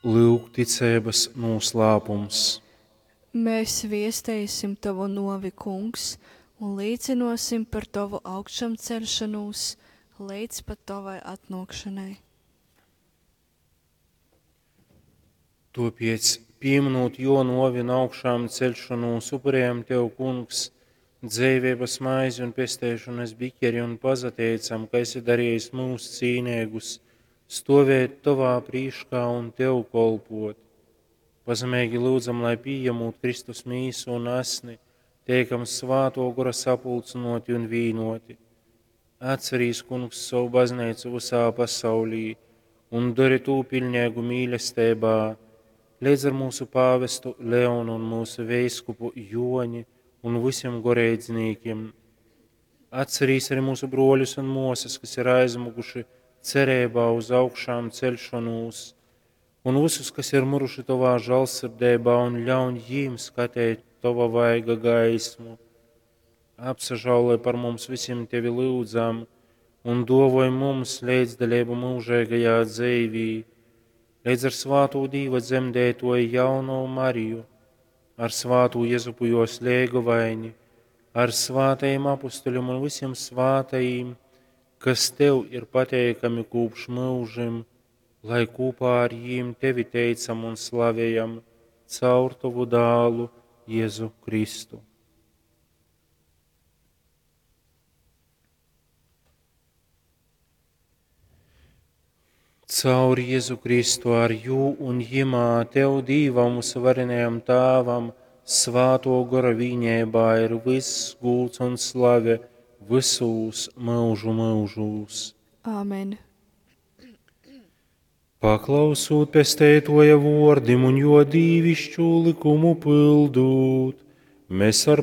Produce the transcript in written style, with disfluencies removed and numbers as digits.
Lyugticeibas nūslāpums. Mēs viesteisim Tovu nuovi, Kungs, un līcynuosim par Tovu augšamceļšonūs leidz pat Tovai atnuokšonai. Tuopiec, pīminūt Juo nuovi un augšāmceļšonūs, upurējam Tev, Kungs, dzeiveibas maizi un pesteišonas bikeri un pasateicam, ka esi darījis mūs cīneigus stovēt Tovā prīškā un Tev kolpot. Pazemeigi lyudzam, lai pījemūt Kristus mīsu un asni, teikam svāto gora sapulcynoti un vīnoti. Atcerīs, Kungs, savu baznīcu visā pasaulī un dori tū pilnīgu mīlestībā, līdz ar mūsu pāvestu Leonu un mūsu veiskupu Joni un visiem goreidznīkiem. Atcerīs arī mūsu broļus un mosas, kas ir aizmuguši cerībā uz augšām celšanos, un visus, kas ir muruši Tavā žēlsirdībā, un ļaun jīm skatīt Tava vaiga gaismu. Apsažāloj par mums visiem Tevi lūdzam, un dovoj mums līdzdalību mūžīgajā dzīvī, līdz ar svāto Dīva dzemdētoju jauno Mariju, ar svāto Jezupu jos lēgovaini, ar svātajiem apustuļiem un visiem svātajiem, kas Tev ir pateikami kopš mūžim, lai kopā ar jīm Tevi teicam un slavējam caur Tavu dālu Jēzu Kristu. Caur Jēzu Kristu ar jū un jimā Tev Dīvam mūsu varenajam Tāvam, svāto gora vīņībā ir viss gūts un slave visūs mūžu mūžūs. Āmen. Paklausūt pesteitoja vordim un jo dīvišķu likumu pildūt, mēs ar